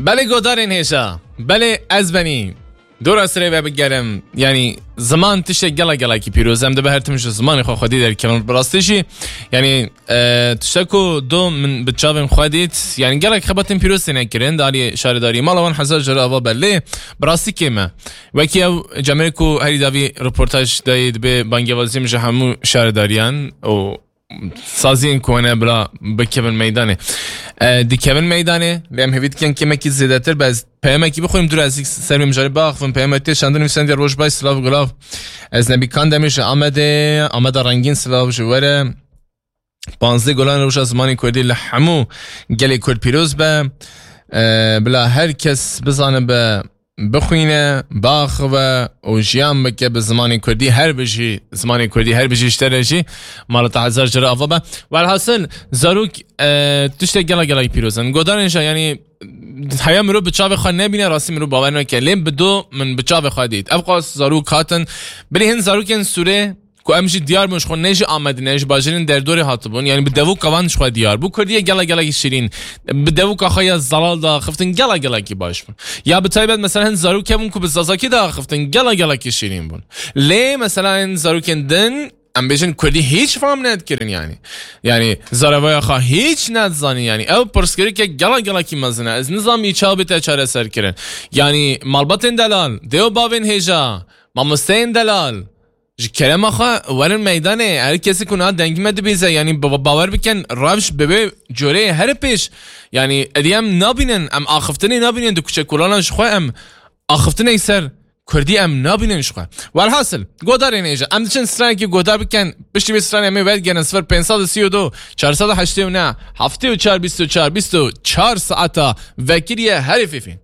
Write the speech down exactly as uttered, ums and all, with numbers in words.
Belê godarên hêja, belê ez benî. Dora sirê ve bigerim. Yanî ziman tiştek gela gelakî pîroz. Em dibe her tim ji zimanê xwe xwedî derkevin. Bi rastî jî, yanî, e, tiştek ku do min bi çavên xwe dît, yanî gelek xebatên pîroz têne kirin. Di alî şaredarî mala wan hezar jere ava belê. Bi rastî kêm e. Wekî ew cemê ku herî davî reportaj dayê dibe bangevazî min ji hemû şaredariyan û saziyên ku hene bila bikevin meydanê. E, dikevin meydanê, lê em hêvî dikin kêmekî zêdetir be. Ez peyamekî bixwînim, dûr ez ser wê mijarê biaxivim. Peyamekî tê şandin nivîsandî: Roj baş, silav, gulav. Ez Nebî Kandemî ji Amedê, Ameda rengîn, silav ji we re. Panzdeh Gulan Roja Zimanê Kurdî li hemû gelê Kurd pîroz be. E, bila her kes bizanibe, bixwîne, biaxive û jiyan bike bi zimanê Kurdî. Her bijî zimanê Kurdî, her bijî ji te re jî. Mala te hezar jere ava be. Welhasil, zarok, e, tiştek gela gelek pîroz in. Godarên jî, yanî, heya mirov bi çavê xwe nebîne, rastî mirov bawer neke. Lê bi do min bi çavê xwe dît. Ev qas zarok hatin. Bilî hin zarokên Sûrê ku em jî diyar bûn, ji xwe ne ji Amedê ne ji bajêrên derdorê hatibûn. Yanî bi devoka van ji xwe diyar bû. Kurdiyê gela gelekî şîrîn. Bi devoka xwe ya zelal de axiftin, gela gelekî baş bûn. Ya bi taybet mesela hin zarokê bûn ku bi zazakî de axiftin, gela gelekî şîrîn bûn. Lê mesela hin zarokên din, em bêjin, Kurdî hîç fam nedikirin yanî. Yanî zarevaya xwe hîç nedizanîn yanî. Ew pirsgirêkek gela gelekî mezin e. Ez nizam î çawa bête çareserkirin. Yanî malbatên delal, dê û bavên hêja, mamosteyên delal, ji kerema xwe werin meydanê. Her kesî ku niha dengî me dibîze, yanî ba-, bawer bikin, rewş bi vê coreyê here pêş. Yanî êdî em nabînin, em axiftinê nabînin di kuçe kolanan, ji xwe em axiftinê ser Kurdî em nabînin ji xwe. Welhasil, godarên hêja, em diçin stranekî godar bikin, piştî vê stranê em ê vedigerin sifir pênc sed û sî û du, çar sed û heştê û neh, heftê û çar, bîst û çar, bîst û çar saeta vekiriye herê fêfên.